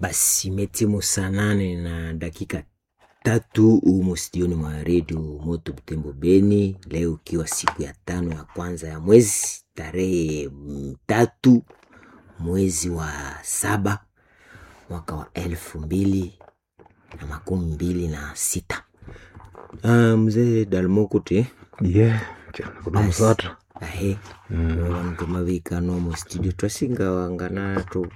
Basi imetimu saa 8 na dakika 3 humu studioni mwa redio Moto Butembo Beni, leo ikiwa siku ya tano ya kwanza ya mwezi tarehe 3 mwezi wa 7 mwaka wa 2026. Mzee Dalmokuti Ye, kuna musatra. Ahe, vanhu mavika mu studio twasinga wanganato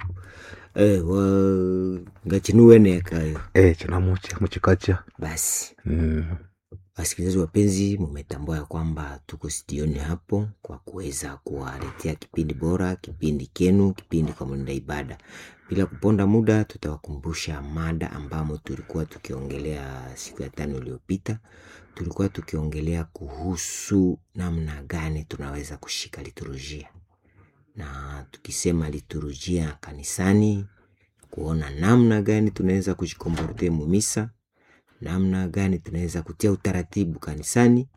ngachinuwenekayo. Chinamucha muchikacha. Basi wasikilizaji wapenzi, mumetambua ya kwamba tuko studioni hapo kwa kuweza kuwaletea kipindi bora, kipindi kenu, kipindi kwa mlinda ibada. Bila kuponda muda, tutawakumbusha mada ambamo tulikuwa tukiongelea siku ya tano iliyopita. Tulikuwa tukiongelea kuhusu namna gani tunaweza kushika liturujia, na tukisema liturujia kanisani, kuona namna gani tunaweza kujikomporte mumisa, namna gani tunaweza kutia utaratibu kanisani,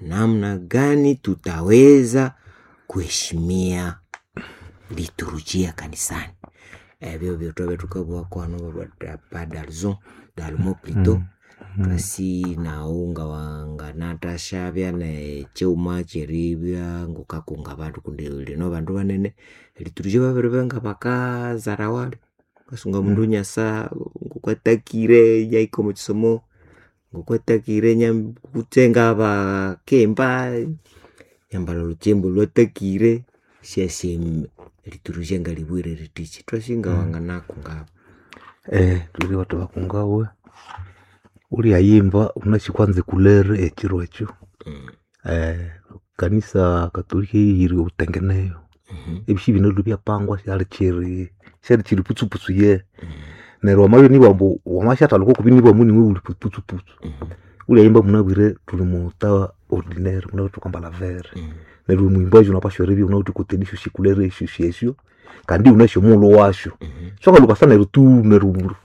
namna gani tutaweza kuheshimia liturujia kanisani. Ebyo byotwabe tukabwakwano pa dalzon dalmo plutôt kasi naunga wanganatashavya ne cheuma cheribya ngukakunga bandu kundi lino bandu banene liturujia babiribenga bakazara wali kasunga mundu nyasa ngukwatakire yaiko muchisomo ngukwatakire kutsenga bakemba nyambala luchembo lwatakire syasye liturujia ngalibwire ritichi twasinga wanganakunga. Tuli bathu bakungawe ulyayimba unasi kwanza ekulere ekiro ekyo. Kanisa katolika eyihire obutengeneyo. Ebisi bino byapangwa syali kyiri syali kyiri putsuputsu ye. Neryo wamabya inibugha wamasyathwalha okwa kubinibugha niwe wuli putsuputsu. Ulyayimba munabwire thuli muta ordinaire munabwire thukambalha vere. Neryo omwimbaji wunapashwa eribya wunawithe okwa esyosi kulere esyosi esyo kandi iwunasi omughulhu wasyo. So ngalhukasa neryo tu neryo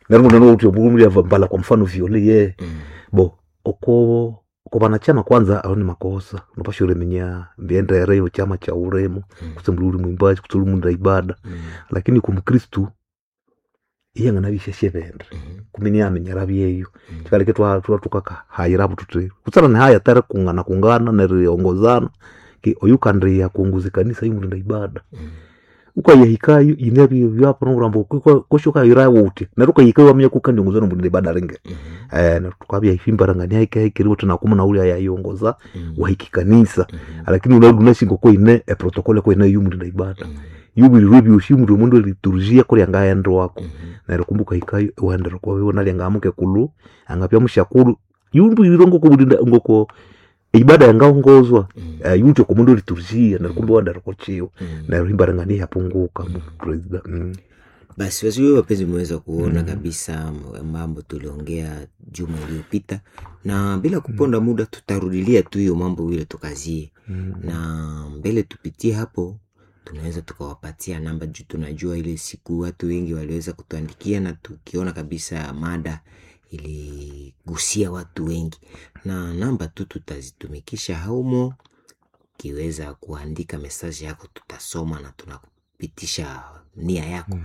neryo mbalha kwa mfano violet ye. Bo oko banachama kwanza aho ni makosa wunapashwa eriminya emyendere eyekyama kyaghu wulimo kutse wuli mwimbaji kutse wuli mwenda ibada. Lakini kwa mukristu iyanganabya isyasye kumbe iniyaminyera byeyo. Kyikaleka ithwakahayirabo thuthi butsira nihaya atarikungana kungana neriongozana oyukandiya kuongoza ekanisa yomulinda ibada. Wukayahikayo yinabya ambu kwesi wukayirayo wuthi neryo wukahikayo iwaminya kuwukandiongozwa nomulinda ibada alingehi. Neryo thukabya ihimbarangania hike hike eribugha wuthi naku munawulya yayiongoza wahika ekanisa. Lakini wunabya wunasi ngokuyine e protocol kuyine yomulinda ibada. Yubwirwe ebyosi muli omundu liturujia kuli angaghendwako. Neryo kumbe wukahikayo iwaghendera okwabiwe nalya mukekulhu angabya musyakulhu yubwirwe ngokubulinda ngoko eibada yangaongozwa yiwithe oko mundu liturujia neryo kumbe iwaghendera okwakiwe. Neryo ihimbarangania ihyapunguka. Basi wasikilizaji wapenzi, mmeweza kuona kabisa mambo tuliongea juma iliyopita, na bila kuponda muda tutarudilia tu hiyo mambo vile tukazie na mbele tupitie hapo, tunaweza tukawapatia namba juu tunajua ile siku watu wengi waliweza kutuandikia na tukiona kabisa mada iligusia watu wengi, na namba tu tutazitumikisha haumo. Ukiweza kuandika mesaji yako tutasoma na tunakupitisha nia yako.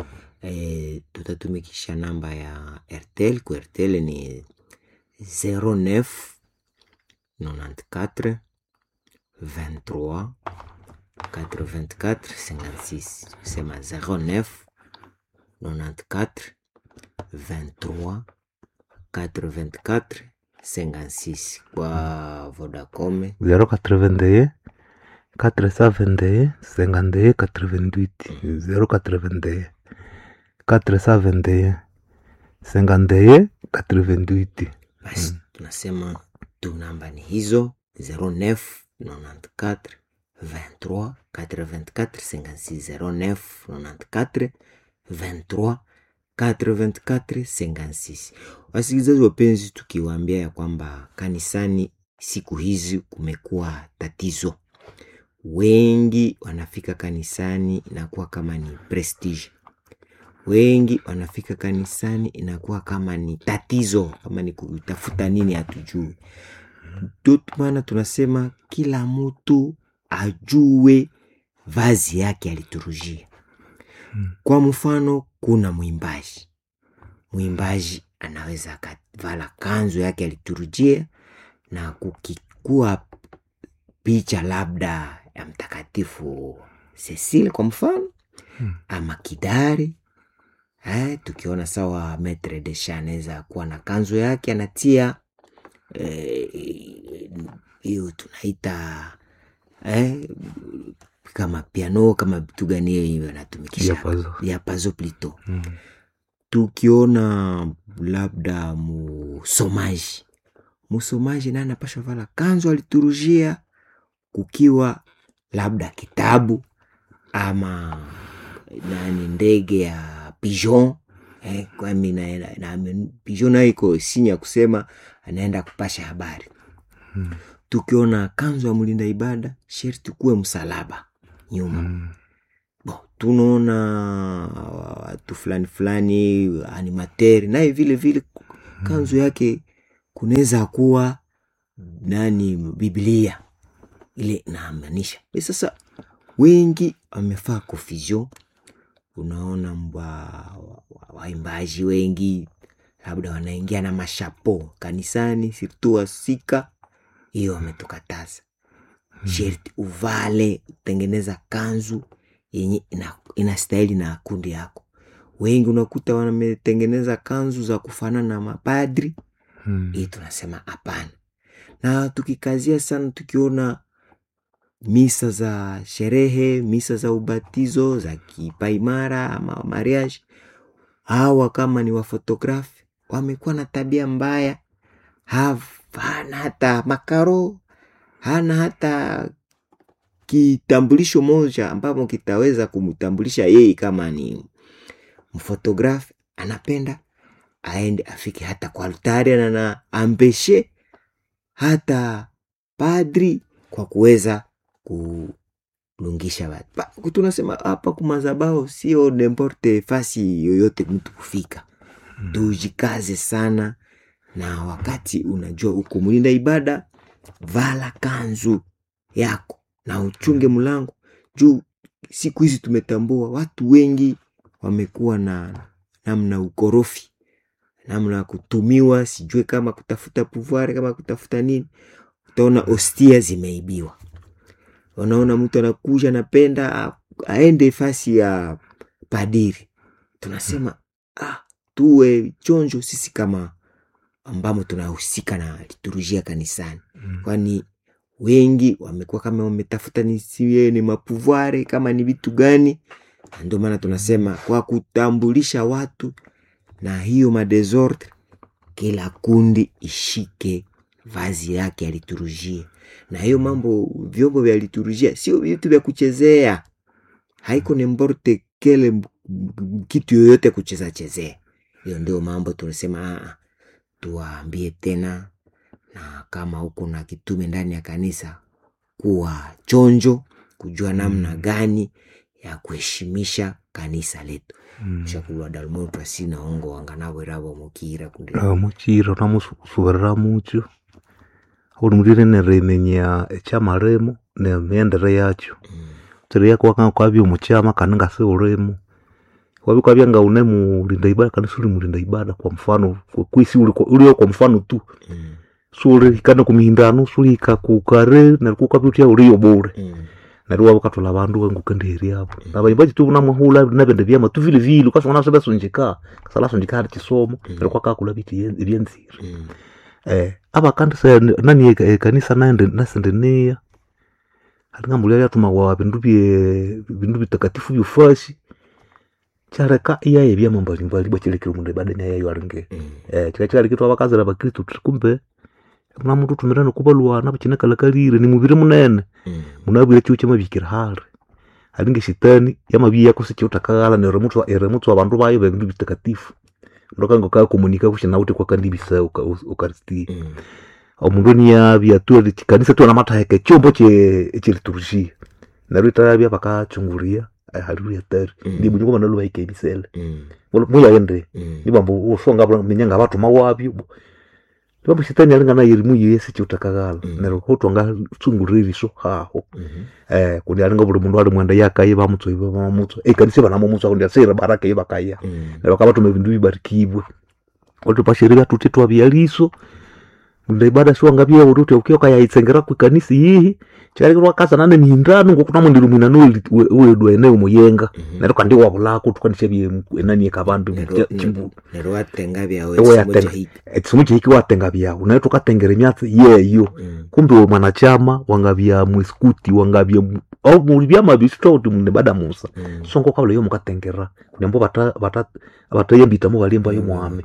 Tutatumikisha namba ya Airtel. Ku Airtel ni 09 94 23 84 56, kusema 09 94 23 84 56 kwa Vodacom 081 471 51 88 081 471 51 88. Basi tunasema tu namba ni hizo 09 94 23 84 56 09 94 23 84 56. Wasikilizaji wapenzi, tukiwaambia ya kwamba kanisani siku hizi kumekuwa tatizo, wengi wanafika kanisani inakuwa kama ni prestige, wengi wanafika kanisani inakuwa kama ni tatizo, kama ni kutafuta nini hatujui. Maana tunasema kila mtu ajue vazi yake ya liturujia. Kwa mfano kuna mwimbaji, mwimbaji anaweza akavala kanzu yake ya liturujia na kukikua picha labda ya Mtakatifu Cecile kwa mfano ama kidari tukiona sawa Maitre Deschamps anaweza kuwa na kanzu yake anatia hiyo tunaita kama piano kama vitu gani hiyo anatumikisha Diapason. diapason plutôt. Tukiona labda musomaji, musomaji naye anapasha vala kanzu aliturujia, kukiwa labda kitabu ama nani ndege ya pigeon kwani na pigeon nayo iko sinya kusema anaenda kupasha habari. Tukiona kanzu ya mlinda ibada sherti kuwe msalaba nyuma. Bon, tunaona watu fulani fulani animateri naye vile vile kanzu yake kunaweza kuwa nani Biblia ile inaamanisha. Sasa wengi wamefaa confusion. Unaona waimbaji wengi labda wanaingia na mashapo kanisani, sirtu wasika, hiyo wametukataza. Sherti uvale, tengeneza kanzu yenye inastahili na kundi yako. Wengi unakuta wametengeneza kanzu za kufanana na mapadri. Hii tunasema hapana. Na tukikazia sana, tukiona misa za sherehe, misa za ubatizo, za kipaimara ama mariage, hawa kama ni wafotografi wamekuwa na tabia mbaya, hana hata makaro, hana hata kitambulisho moja ambapo kitaweza kumtambulisha yeye kama ni mfotografi. Anapenda aende afike hata kwa altari na na ambeshe hata padri kwa kuweza kulungisha watu. Tunasema hapa kumazabao sio n'importe fasi yoyote mtu kufika. Tujikaze sana, na wakati unajua uko mlinda ibada, vala kanzu yako na uchunge mlango juu siku hizi tumetambua watu wengi wamekuwa na namna ukorofi, namna kutumiwa, sijue kama kutafuta pouvoir, kama kutafuta nini. Utaona hostia zimeibiwa, unaona mtu anakuja anapenda aende fasi ya padiri. Tunasema tuwe chonjo sisi kama ambamo tunahusika na liturujia kanisani, kwani wengi wamekuwa kama wametafuta nisiwe ni mapuvware kama ni vitu gani. Ndio maana tunasema kwa kutambulisha watu na hiyo madesordre, kila kundi ishike vazi yake ya liturujia. Na hiyo mambo, vyombo vya liturujia sio vitu vya kuchezea, haiko n'importe kele kitu yoyote kucheza chezea. Hiyo ndio mambo tunasema tuwaambie tena, na kama uko na kitume ndani ya kanisa, kuwa chonjo kujua namna gani ya kuheshimisha kanisa letu. Shakulwa dalmo twasina ongo wanganawerawo mukira kundi Mukira namusuberera mukyo uli mulire neriminya ekyamalimo nemiyendere yakyo. Tsireya kwabya omukyama kandi ngasiwulimo wabya kwabya ngaune mulinda ibada kandi siwuli mulinda ibada kwa mfano kwisi uliyo kwa mfano tu siwulihika nekumihindano siwulihika kukare neryo kukabya wuthya uliyo bule. Neryo iwabya wukatholha abandu ngukendiheriabo nabayimbaji tu namwahulha nebindi byama tu vilevile wukasangana isibasunjika kasalhasunjika hali kisomo neryo kwakakulha bithi ebyanzire. Abakandisa nani ekanisa naende nasendeniya halinga lyathumawa bindu bye bindu bitakatifu byofasi kyaleka iyaya ebyama mbalimbali ibwa kyalekire omundu ebada inayayo alinge. Kikabya kyikaleka ithwabakazira abakristo thuthi kumbe munamuthuthumirana nokubalwana bukyinakalhakalire nimubiri munene munabwire ekihugho kyamabihikira hali. Halinga eshetani yamabya kusikiwuthe neryo erimutswa abandu bayo bebindu bitakatifu. Omundu akanga akakomunika kusi nawuthe kwakandibisa ukaristia. Omundu niyabya tu ekanisa tu namathaheka ekyombo ekyeliturujia neryo ithabya bakakyungulya hali hatari nibwa banalwa bahika ebisele muyaghende nibambu wusonga minya ngabathuma wabyo. Bambu shetani alingana yerimu yesi chiutakaghala neryo hotwanga tsungulira eriso haho. Kundi alinga buli mundu ali mwenda yakaye bamutso bamutso ekanisa banamumutso kundi asira baraka yebakaya neryo bakabatuma ebindu bibarikibwe otupashirira tuti twabyaliso ndibada siwanga byewo uti ukioka yayitsengera kwikanisa yihi kyalirwa kasa nane mihindano ngokunamwendera omwinano wedwa eneo muyenga neryo kandi wabulako tukanisha bye enani ekabandu chimbu neryo watenga byawe Ewe yatenga. Ekisomo kyehiki watenga byawu naye tukatengera emyatsi yeyo. Kumbe we mwanachama wangabya mwiskuti wangabya au muli byama bisitwa uti mune bada musa. Sonko kabula yo mukatengera kunyambo bata bata batayembita mu balimba yo mwami.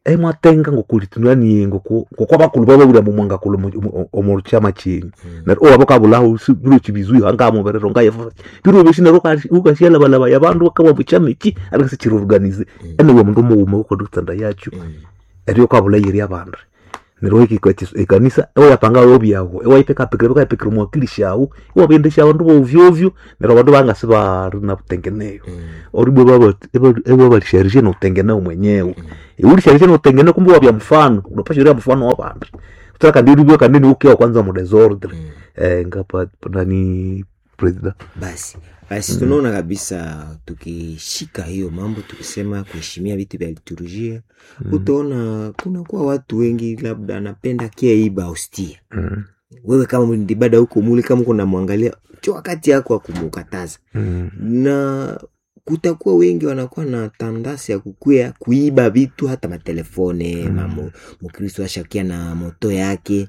Emwatenga ngokulitunani ngoko ngokwa bakulu baba buli mu mwanga kulu omu chama chinyu. Neryo owabo kabulaho biro kibizwi anga muberero nga yefa biro bisi neryo ukashyala balaba yabandu bakabwa mu chama iki ariko sikiruorganize ene we mundu muwuma ukodutanda yacho eryo kabula yeri abandu neryo iki ekanisa ewapanga obyawo ewaipeka pekera pekera mwakili shawo ewabendesha abandu bovyo ovyo neryo abandu bangasi bari na butengeneyo oribwe baba ewabalisharishe nokutengeneo mwenyewe iulisharishe nokutengeneo kumbe wabya mfano unapashiria mfano wa bandu utaka kandi uliwe kandi ukiwa kwanza mu desordre ngapa nani president Basi basi tunaona kabisa tukishika hiyo mambo tukisema kuheshimia vitu vya liturujia utaona kunakuwa watu wengi labda anapenda kia iba hostia. Wewe kama mlindibada huko muli kama uko namwangalia cho wakati yako wa kumukataza. Na kutakuwa wengi wanakuwa na tandasi ya kukwea kuiba vitu hata matelefone mamo mkristo ashakia na moto yake.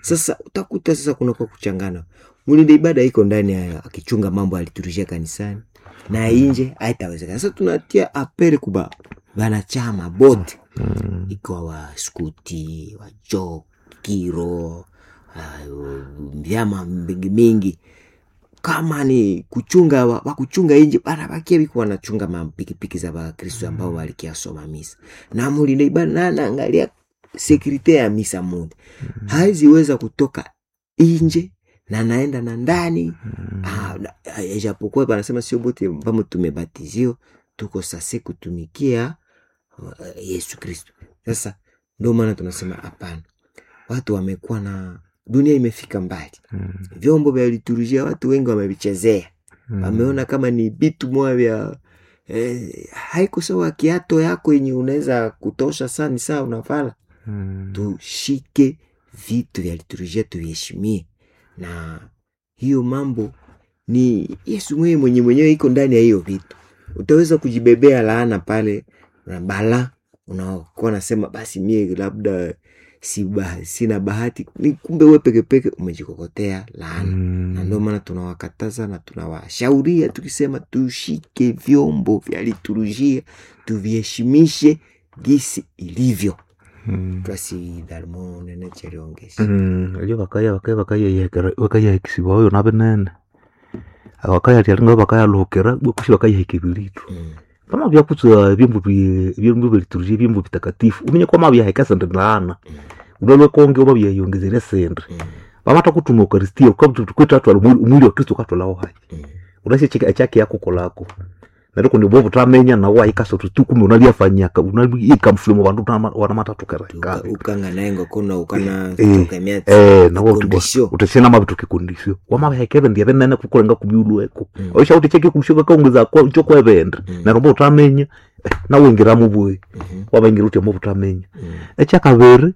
Sasa utakuta sasa kuna kwa kuchangana. Mlinda ibada iko ndani ya akichunga mambo ya liturujia kanisani na inje haitawezekana. Sasa tunatia apele kuba wanachama bote ikiwa wa skuti wa jokiro vyama mingi mingi kama ni kuchunga wa kuchunga inje bara bakia biko wanachunga mapikipiki za Bakristo ambao walikiasoma misa na mulinda ibada na anaangalia sekurite ya misa munde haiziweza kutoka inje na naenda na ndani. Ijapokuwa banasema sio bote ambamo tumebatizio tuko sase kutumikia Yesu Kristo. Sasa ndio maana tunasema hapana, watu wamekuwa na dunia imefika mbali. Vyombo vya liturujia watu wengi wamevichezea. Wameona kama ni vitu moja vya haiko sawa kiato yako yenye unaweza kutosha saa ni saa unavala. Tushike vitu vya liturujia tuviheshimie, na hiyo mambo ni Yesu mwenyewe mwenyewe iko ndani ya hiyo vitu. Utaweza kujibebea laana pale na bala, unakuwa nasema basi mie labda sina bahati, ni kumbe wewe peke peke umejikokotea laana. Na ndio maana tunawakataza na tunawashauria tukisema tushike vyombo vya liturujia tuviheshimishe gisi ilivyo. Twasi dalmo nene cheriongesi. Elyo bakaya bakaya bakaya bakaya ekisiba oyo nabinene bakaya lyalinga bakayaluhukira bwakushi bakayiheka ebilitu. Pama byakutsa byombo byombo bya liturujia byombo bitakatifu umenye kwa mabyaheka sende laana unalwe konge oba byayongezera sende bamata kutuma eukaristia kwithatwala omwili wa Kristo katwalawo hayi unashe ekyaki yakukolako neryo kundi bwo butamenya nawo wayikasa uthi tu kumbe unalyafanyaka unalika mfulimo bandu wanamatathukera Ukanga naye ngokona ukana toka emyatsi nawo uthi ikondisio. uthesena mabithuka ekondisio wamabiheka ebindi ebinene kukulenga kubyulweko oisha uthi cheki kundisio kakaongeza kyokwebindi neryo mbo utaminya nawingiramu bwe wabaingira uthi mbo utaminya ekyakabiri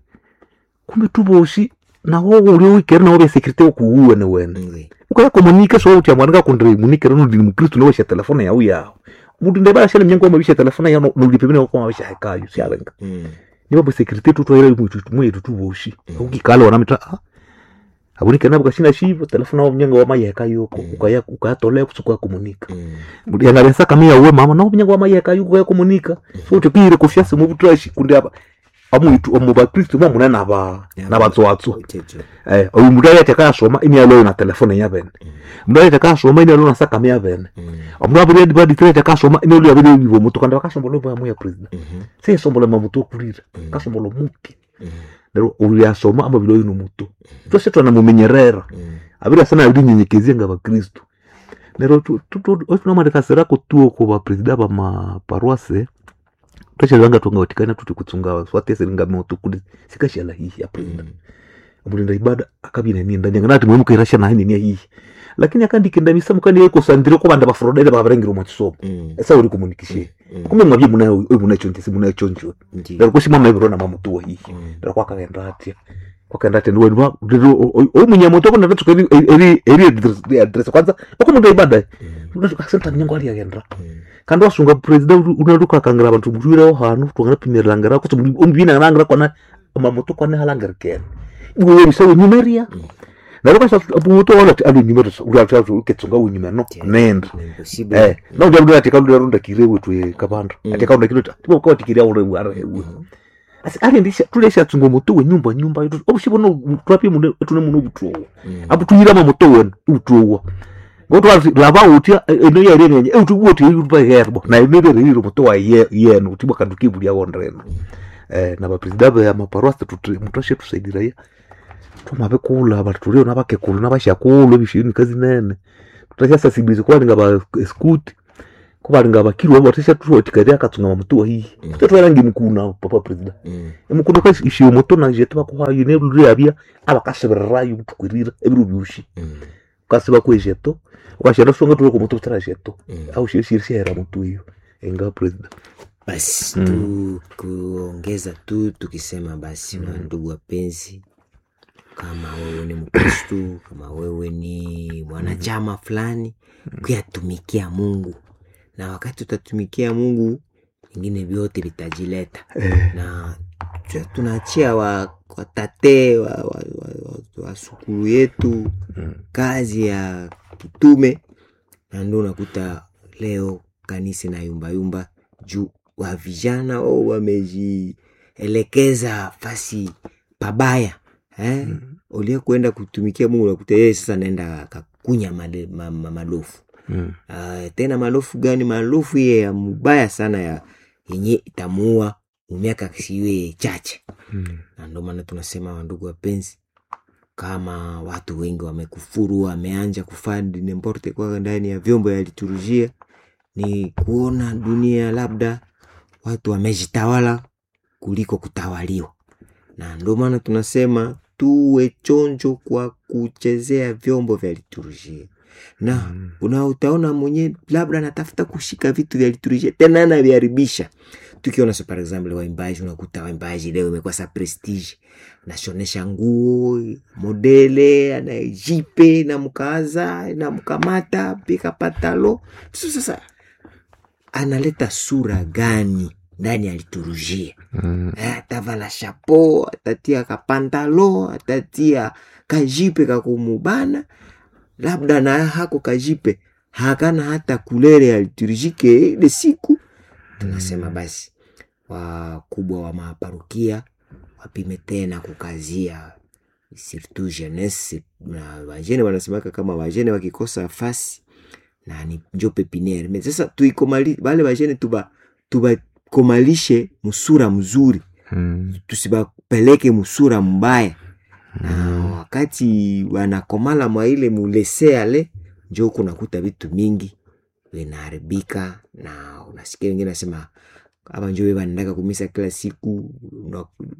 kumbe tubosi nawo uli wikere nawo bya security okuwuwene wene ukaya komunika so uthi amwana ngakundire munikere nundi ni mukristo nawe sha telefone yawu yawo mundu ndebala shana mnyango wamabisha telefone yawo nuli pembeni wako mabisha hekayo syalenga niba bwe security tutwaire mwitu tuboshi ukikala wanamita abunikere nabo kashina shivo telefone yawo mnyango wamayeka yoko ukaya ukayatolea kusuka komunika yangalensa kamiya uwe mama nawo mnyango wamayeka yoko ukaya komunika so uthi kire kufyasi mu butrashi kundi aba amwitu omu bakristo mwa munene aba nabatswatsu oyu mundu ayathe akayasoma inialoyo na telefone yabene mundu ayathe akayasoma inialoyo na sakame yabene omundu abiri ayathe akayasoma inialoyo abiri oyibo mutu kandi bakasombola omu ya president seyesombola mamutu okulira kasombola omupya neryo olyasoma amabiri oyu nomutu twese twanamumenyerera abiri asana abirinyenyekezia nga bakristo neryo tunamalekasirako tuo ku bapresida bamaparuase. Twashalanga twanga watikana tuti kutsunga swatese ringa moto kuli sikashala hihi ya president. Omulinda ibada akabina ninda nyanga nati mwe mukirasha na nini hihi. Lakini akandikenda misamu kandi yeko sandire ko banda bafrodele babarengira mu kisomo. Esa uri kumunikishe. Kumbe mwabye munayo munacho ntisi munacho ncho. Ndaro kushima mabiro na mamutuwa hihi. Ndaro kwakagenda atya. Kwakagenda atya ndiwe o munyamoto ko ndatsuka eri eri address kwanza okumunda ibada. Unatsuka senta nyango ali agenda. Kandi wasunga president unaruka kangira abantu burireho hanu twangana ko ombina nangira kwana mamoto kwana halangira ken. Iwe bisawe nyumeria. Naruka sa moto wala ali nyumero uri uketsunga unyuma no nenda. Na ndio ndio atika ndio runda kirewe tu kabanda. Atika runda kirewe tipo kwa tikiria uri ari. Asi ali ndisha tulesha tsungo moto we nyumba nyumba obushibono twapi mundu tune muno butuwo. Abu tuyira moto we utuwo. Ngoto lava utia eno ya renye utu wote yupa herbo na imebe rero moto wa yenu utibwa kanduki buli awondreno. Na ba president ya maparosi tutashe tusaidira ya. Tumabe kula abatulio nabakekulu nabashakulu ebishini kazi nene. Tutasha sensibilize kwa linga ba scout kuba linga bakirwa batasha tuotikaria katsunga mutuwa hihi. Tutatwarangi mukuna papa president. Emukuna kasi ishiyo moto na jetu bakuhayo ne luri abia abakaseberayo butukwirira ebiru byushi. Kasiba kwejeto ukashera songa tuko moto tarajeto au shiri shera moto hiyo enga president. Basi tu kuongeza tu tukisema basi ndugu wapenzi, kama wewe ni Mkristo, kama wewe ni mwanachama fulani, kuyatumikia Mungu, na wakati utatumikia Mungu vingine vyote vitajileta. Na tunaachia watate wa sukulu yetu kazi ya kitume, na ndio unakuta leo kanisa na yumba yumba juu wa vijana wamejielekeza fasi pabaya. Ulia kuenda kutumikia Mungu unakuta yeye sasa naenda kakunya malofu. Tena malofu gani? Malofu ye ya mubaya sana ya yenye itamuua miaka siwe chache. Na ndio maana tunasema ndugu wapenzi, kama watu wengi wamekufuru, wameanza kufandi n'importe kwa ndani ya vyombo ya liturujia, ni kuona dunia labda watu wamejitawala kuliko kutawaliwa. Na ndio maana tunasema tuwe chonjo kwa kuchezea vyombo vya liturujia. Na utaona mwenye labda anatafuta kushika vitu vya liturujia tena anaviharibisha. Tukiona so par exemple waimbaji, unakuta waimbaji leo imekuwa sa prestige, nashonesha nguo modele, anajipe na mkaza na mkamata pika patalo. Sasa analeta sura gani ndani ya liturujia? Atavala chapeau, atatia kapantalo, atatia kajipe kakumubana, labda na hako kajipe hakana hata kulere ya liturujike ile siku. Tunasema basi wakubwa wa maparokia wapime tena kukazia surtout jeunesse na wajene. Wanasemaka kama wajene wakikosa fasi na ni njo pepiniere. Mais sasa tuikomali wale wajene tubakomalishe musura mzuri, tusibapeleke musura mbaya. Na wakati wanakomala mwa ile mulese ale, njo kunakuta vitu mingi vinaharibika, na unasikia wengine nasema hapa njo wanaendaka kumisa kila siku,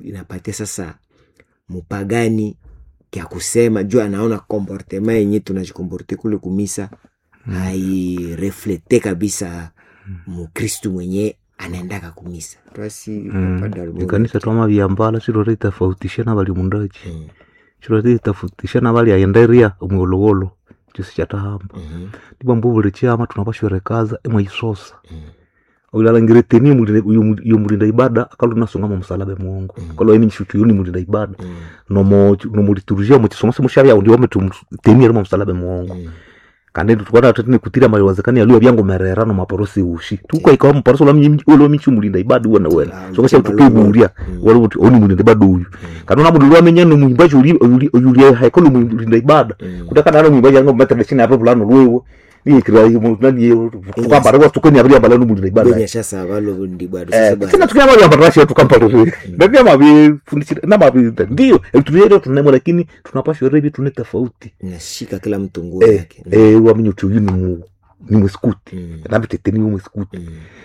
inapatia sasa mupagani kya kusema juu anaona comportement yenye tunajikomporte kule kumisa haireflete kabisa Mukristu mwenye anaendaka kumisa. Twasi ikanisa twama vyambala silore itafautisha na bali mundachi silore itafautisha na bali ayenderia omwolowolo chosi chatahamba ndibwa mbubule chama tunapashwerekaza emwe isosa ulalangire teni yomulinda ibada akalu nasonga mu musalaba muongo kalo emi nshutu yoni mulinda ibada nomo nomo liturujia mu chisomo mushabya undi wame teni yari mu musalaba muongo kandi tukwana tutine kutira maliwazekani aliyo byango merera no maporosi ushi tuko ikawa mporosi la mnyimji ulo michi mulinda ibada uwe na wena so kasha tukiburia wala uti oni mulinda ibada uyu kana na mundu lwamenya no muimbaji uli uli uli haikolo mulinda ibada kutaka nalo muimbaji anga matra chini hapo fulano lwewe ni kira nani tukamba rwa tukeni abiri ambala no mulinda ibada Bwenye sasa walo ndi bado sasa bado. tena tukina mali ambala rasha tukampa rwe ndio mabi fundishira na mabi ndio tulio tunemo lakini tunapashwa rebi tune tofauti Nashika kila mtu nguo yake. wamenye uti uyu ni ni mwesikuti nabitete ni mwesikuti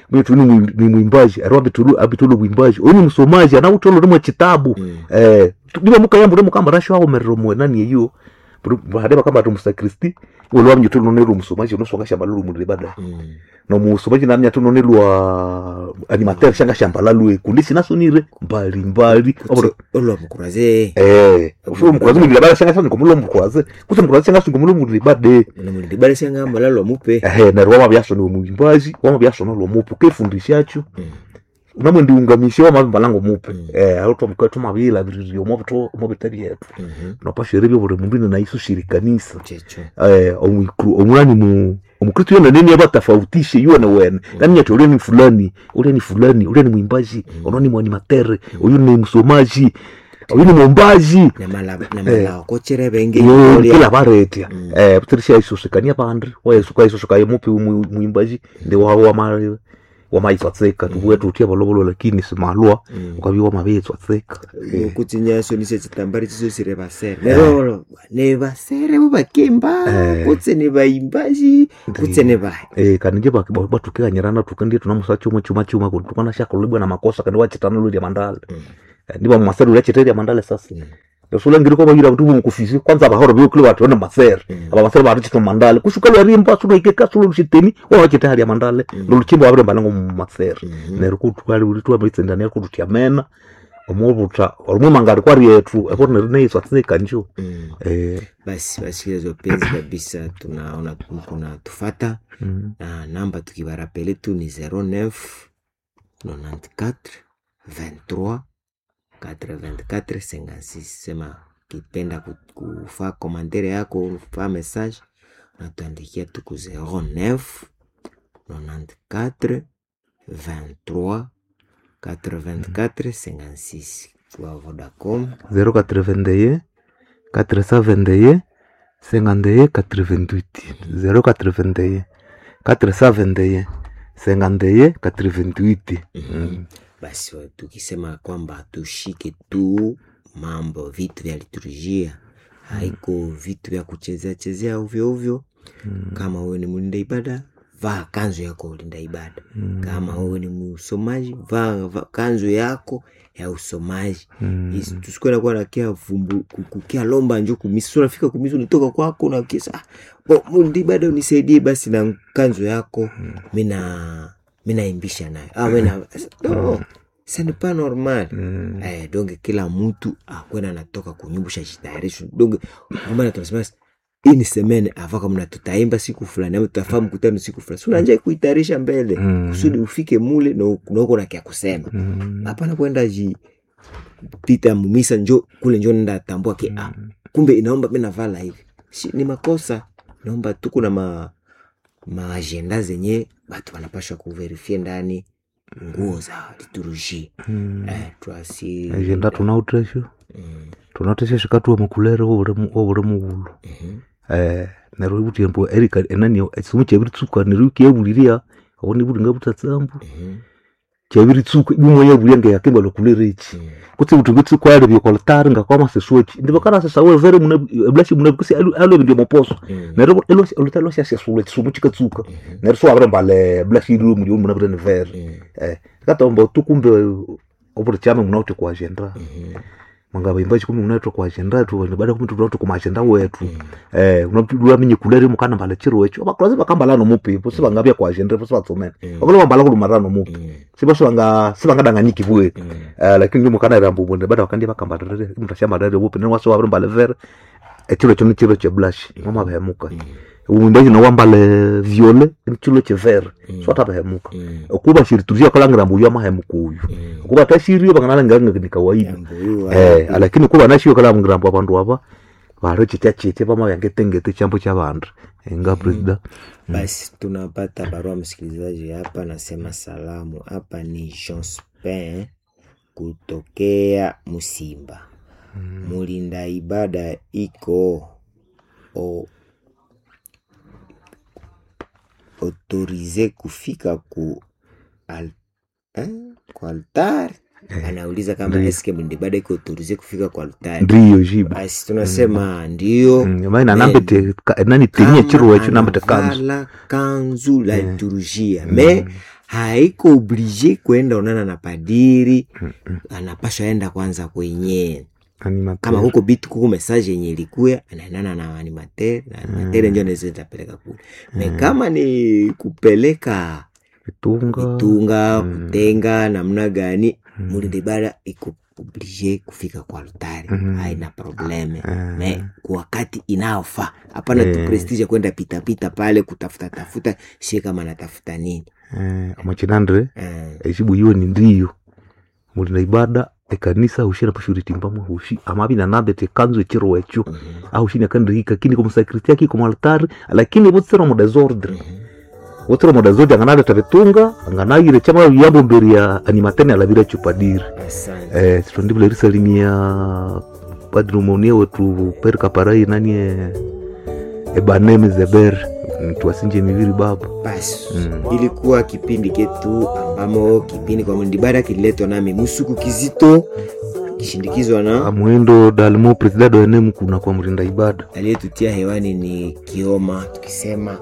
mwitu ni mwimbaji ero abitulu abitulu bwimbaji oyu ni msomaji anawutolo rimwe kitabu niba mukayamba uri mukamba rasho awomerera omwe nani eyo hade bakamba ati omusakristi olwa mnyutu nonero omusomaji onosonga shamba lulu mulire bada nomusomaji namnya tu nonelwa animateur shanga shamba lalwe kundi sinasonire mbali mbali olwa mukuraze ufu mukuraze mulire bada shanga shanga ngomulwa mukuraze kuse mukuraze shanga shanga ngomulwa mulire bade namulire bada shanga mbalalo mupe neryo wamabyaso niwe muimbaji wamabyaso nolwa mupe ukefundishacho namwe ndiungamishe wamabimbalango mupe aho twamabila biriryo omobito omobita byetu nopashere byo buli mundu naiso shirikanisa omulani mu omukristo yona nini abatafautishe yuwe wene nani ati ule ni fulani ule ni fulani ule ni mwimbaji ono ni mwanimatere uyu ni msomaji uyu ni mwombaji namalaokochere benge kila baretya butirisha isusikania bandi wayesuka isusukaye mupi mwimbaji ndi wawe wamali wamaitswatseka tubuye tutia bolobolo lakini simalwa ukabya wamabitswatseka kutsinya nise chitambari chisosire basere nerolo ne basere bo bakemba kutse ne baimbaji kutse ne bahe kandi nje batukikanyirana tukendie tunamusa chuma chuma chuma tukana shakolebwa na makosa kandi wachitana lulya mandale ndiba mumasere ulyachiteria mandale sasa usulangire ko bayira abantu mukufisi kwanza abahoro byokule batu ona masere aba masere batu chito mandale kushuka lwarimba sulo ikeka sulo lushiteni wa chita hali ya mandale loluchimbo abire mbalango mu masere nero kutwali ulitwa mitsendania kututia mena omubuta olumwe kwari yetu eko neiswa tsika njo basi basikilizaji wapenzi kabisa, tunaona mko tufata na namba tukibarapele tu ni 09 94 23 84 56. Sema kipenda kufa komantere yako kufa message natuandikia tuku 09 94 23 84 56 kwa Vodacom 081 421 51 88 081 421 51 88. Basi tukisema kwamba tushike tu mambo vitu vya liturujia, haiko vitu vya kuchezea chezea ovyo ovyo. Kama wewe ni mlinda ibada, vaa kanzu yako ulinda ibada. Kama wewe ni msomaji, vaa kanzu yako ya usomaji. Tusikuwe nakuwa nakia vumbu kukia lomba njo kumisi, unafika kumisi unatoka kwako na kisa bo mlinda ibada unisaidie basi na kanzu yako mina minaimbisha nayo ah, mina no, ce n'est pas normal. Donc kila mtu akwenda anatoka kunyumbusha jitayarisho donc maana tunasema ini semaine avant kama tutaimba siku fulani ama tutafaa mkutano siku fulani, si unanja kuitayarisha mbele kusudi ufike mule na uko na kia kusema. Hapana kwenda ji pita mumisa njo kule njo nenda tambua ke ah, kumbe inaomba mimi navala hivi si, ni makosa. Naomba tuko na maagenda zenye batu wanapashwa kuverifie ndani nguo za liturgie twasi agenda tunautesho tunautesho shikatuwa mukulere wobuli mughulu neryo ibuthya mbu erika enani ekisomo kyabiritsuka neryo ikyabulirya obo nibulinga butatsambu kyabiritsuka ibumwe yabulya ngeyakimba lokulere eki kutse buthi ngitsuka alebya okolitari ngakwamaseswa eki ndibakanasesa wevere muna ebulashi muna kusi alebya ndi omoposo neryo olutari lwasyasesula ekisomo kikatsuka neryo siwabiramba mbale bulashi iri muli muna bire nivere katomba tukumbe obuli kyama munawithe kwa agenda mwangabimba kumi munawithe kwa agenda tu baada kumi tunawithe kuma agenda wetu unalwamenye kulere mukana mbala chiro ekyo abakulazi bakambala nomupi bo sibangabya kwa agenda bo sibatsomene bakula bambala kulumara nomupi siba sibanga sibangadanganyiki bwe lakini mukana rambu bonde baada bakandi bakambalere mutashamba bupi ne waso wabiri mbala vere ekiro ekyo nikiro kye blush mwamabehemuka umwimbaji nawambale viole nikiro kye vere swatabehemuka okuba shirituria kalangira mbuyu amahemuka uyu okuba tashirio banganalangiranga ni kawaida lakini kuba nashiyo kalangira mbu abandu aba baro chitya chitya pamayangetengete chambo cha bandu nga presida. Basi tunapata barua msikilizaji hapa, nasema salamu hapa ni Jospin kutokea Musimba. Mulinda ibada iko autorize kufika ku ku altare. Anauliza kama Ndiyo. eske mlinda ibada iko autorisé kufika kwa altari. Ndiyo jibu. Basi tunasema ndio. Maana nambete nani tenye chiro echo nambete kanzu. anavala kanzu la liturujia me haiko oblige kwenda onana na padiri, anapasha enda kwanza kwenye Animateur. kama huko bitu kuko message yenye ilikuya anaendana na animateur na animateur ndio anaweza tapeleka kule me kama ni kupeleka Vitunga. vitunga kutenga namna gani, mulinda ibada iko oblige kufika kwa altari, haina probleme me kwa wakati inaofaa. Hapana tu prestige ya kwenda pitapita pale kutafuta tafuta sie kama anatafuta nini. Amachinandre ejibu yiwe ni ndiyo. Mulinda ibada ekanisa hushi napashuritimbamwe hushi amabi nanambete kanzu echiro echo ahushi nakandihika kini komusakritia kiko mwaltari lakini butsira mu desordre butsira mu desordre anganaleta bitunga anganayire chama yambo mbere ya animatene alabira chupadiri. Asante. Tondibula erisalimia padri monia wetu per kaparai nani ebaneme zeber tuwasinje miviri baba. Basi ilikuwa kipindi ketu ambamo kipindi kwa mulinda ibada kililetwa nami Musuku Kizito kishindikizwa na Muhindo dalimo presidado enemu kuna kwa mrinda ibada. aliyetutia hewani ni Kioma, tukisema